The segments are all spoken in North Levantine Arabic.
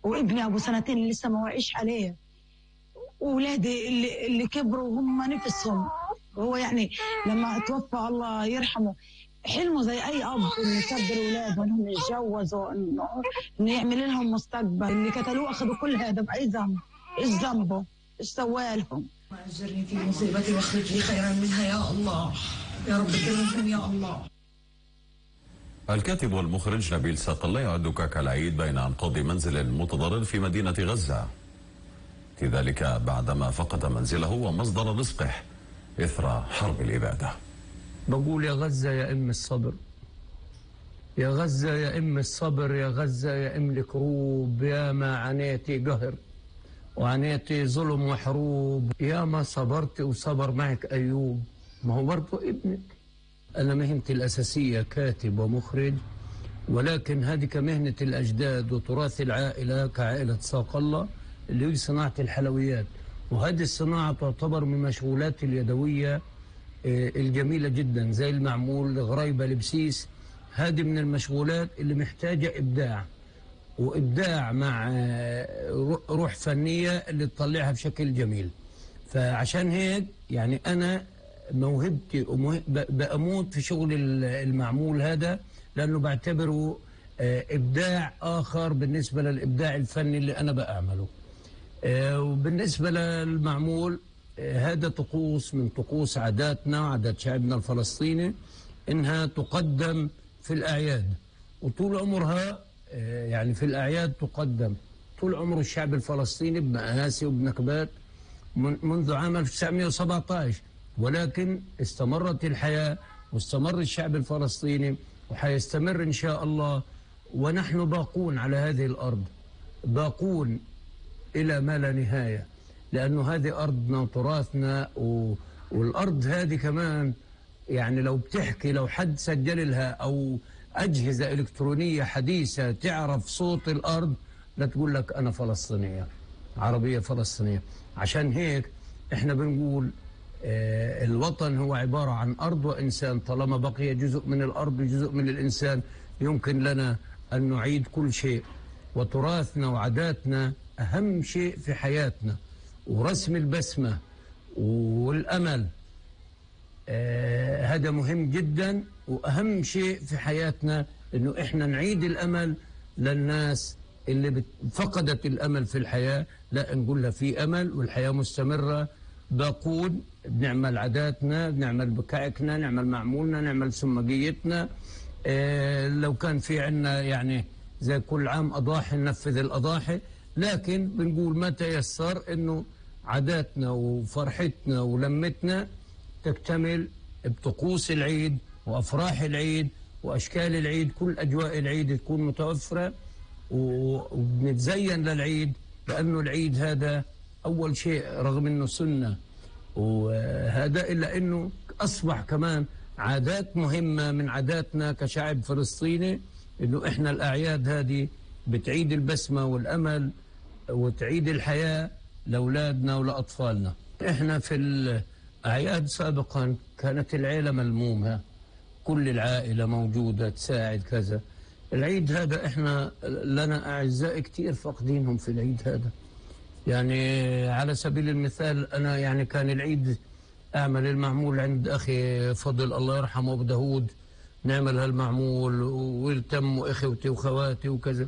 وابني أبو سنتين اللي لسه ما وعيش عليه، وولادي اللي كبروا هم نفسهم. وهو يعني لما توفى الله يرحمه حلمه زي أي أب إنه يكبر أولاده إنهم يتجوزوا، إنه يعمل لهم مستقبل. اللي قتلوه أخذوا كل هذا بأي ذنب؟ إيش ذنبه؟ إيش سوالهم؟ أجرني في مصيبتي واخرج لي خيرا منها يا الله، يا رب كرمهم يا الله. الكاتب والمخرج نبيل صقلة يعد كعك العيد بين أنقاض منزل متضرر في مدينة غزة، في ذلك بعدما فقد منزله ومصدر رزقه إثر حرب الإبادة. بقول يا غزة يا أم الصبر، يا غزة يا أم الصبر، يا غزة يا أم الكروب، يا ما عانيتي قهر وعانيتي ظلم وحروب، يا ما صبرت وصبر معك أيوب. ما هو برضه ابنك. أنا مهنتي الأساسية كاتب ومخرج، ولكن هذه كمهنة الأجداد وتراث العائلة كعائلة صقلة اللي هي صناعة الحلويات، وهذه الصناعة تعتبر من مشغولات اليدوية الجميلة جدا، زي المعمول غريبة لبسيس. هذه من المشغولات اللي محتاجة إبداع، وإبداع مع روح فنية اللي تطلعها بشكل جميل. فعشان هيك يعني أنا موهبتي بأموت في شغل المعمول هذا، لأنه بعتبره إبداع آخر بالنسبة للإبداع الفني اللي أنا بأعمله. وبالنسبة للمعمول هذا طقوس من طقوس عاداتنا وعادات شعبنا الفلسطيني، إنها تقدم في الأعياد، وطول عمرها يعني في الأعياد تقدم طول عمر الشعب الفلسطيني بمآسي وبنكبات منذ عام 1917. ولكن استمرت الحياة واستمر الشعب الفلسطيني وحيستمر إن شاء الله، ونحن باقون على هذه الأرض، باقون إلى ما لا نهاية، لأنه هذه أرضنا وتراثنا. والأرض هذه كمان يعني لو بتحكي، لو حد سجل لها أو أجهزة إلكترونية حديثة تعرف صوت الأرض، لا تقول لك أنا فلسطينية عربية فلسطينية. عشان هيك إحنا بنقول الوطن هو عبارة عن أرض وإنسان. طالما بقي جزء من الأرض وجزء من الإنسان يمكن لنا أن نعيد كل شيء. وتراثنا وعاداتنا أهم شيء في حياتنا، ورسم البسمة والأمل هذا مهم جدا. وأهم شيء في حياتنا إنه إحنا نعيد الأمل للناس اللي فقدت الأمل في الحياة. لا، نقول لها في أمل والحياة مستمرة. باقود بنعمل عاداتنا، بنعمل بكعكنا، نعمل معمولنا، نعمل سمقيتنا. لو كان في عنا يعني زي كل عام أضاحي ننفذ الأضاحي، لكن بنقول ما تيسر إنه عاداتنا وفرحتنا ولمتنا تكتمل بطقوس العيد وأفراح العيد وأشكال العيد. كل أجواء العيد تكون متوفرة وبنتزين للعيد، لأنه العيد هذا أول شيء رغم أنه سنة وهذا، إلا أنه أصبح كمان عادات مهمة من عاداتنا كشعب فلسطيني، أنه إحنا الأعياد هذه بتعيد البسمة والأمل وتعيد الحياة لأولادنا ولأطفالنا. إحنا في الأعياد سابقا كانت العيلة ملمومة، كل العائلة موجودة تساعد كذا. العيد هذا إحنا لنا أعزاء كتير فاقدينهم في العيد هذا. يعني على سبيل المثال أنا يعني كان العيد أعمل المعمول عند أخي فضل الله يرحمه أبو داود، نعمل هالمعمول ويلتم إخوتي وخواتي وكذا.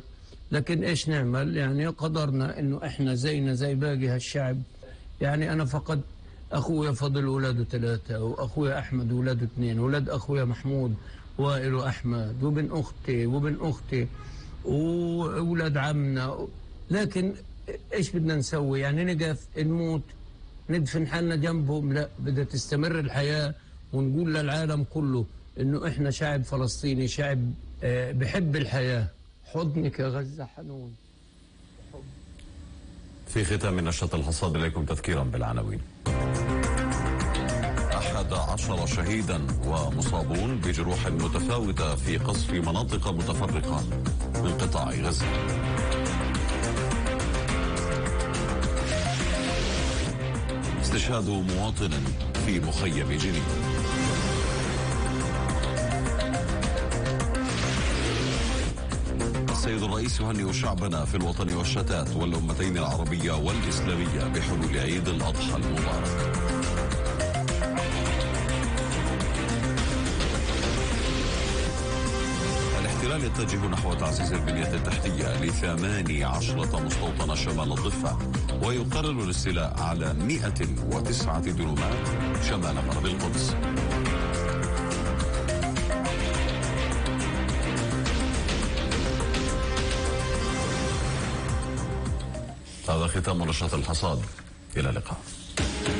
لكن إيش نعمل؟ يعني قدرنا إنه إحنا زينا زي باقي هالشعب. يعني أنا فقد أخويا فضل ولاده 3، وأخويا أحمد ولاده 2، ولاد أخويا محمود وائل وأحمد، وبن أختي وولاد عمنا. لكن إيش بدنا نسوي؟ يعني نقف نموت ندفن حالنا جنبهم؟ لا، بدها تستمر الحياة، ونقول للعالم كله إنه إحنا شعب فلسطيني، شعب بحب الحياة. حضنك يا غزة حنون. في ختام نشرة الحصاد إليكم تذكيرا بالعناوين. 11 شهيدا ومصابون بجروح متفاوتة في قصف مناطق متفرقة من قطاع غزة. استشهاد مواطن في مخيم جنين. السيد الرئيس يهنئ شعبنا في الوطن والشتات والأمتين العربية والإسلامية بحلول عيد الأضحى المبارك. الاحتلال يتجه نحو تعزيز البنية التحتية ل18 مستوطنة شمال الضفة، ويقرر الاستيلاء على 109 دنومات شمال غرب القدس. هذا ختام نشرة الحصاد، إلى اللقاء.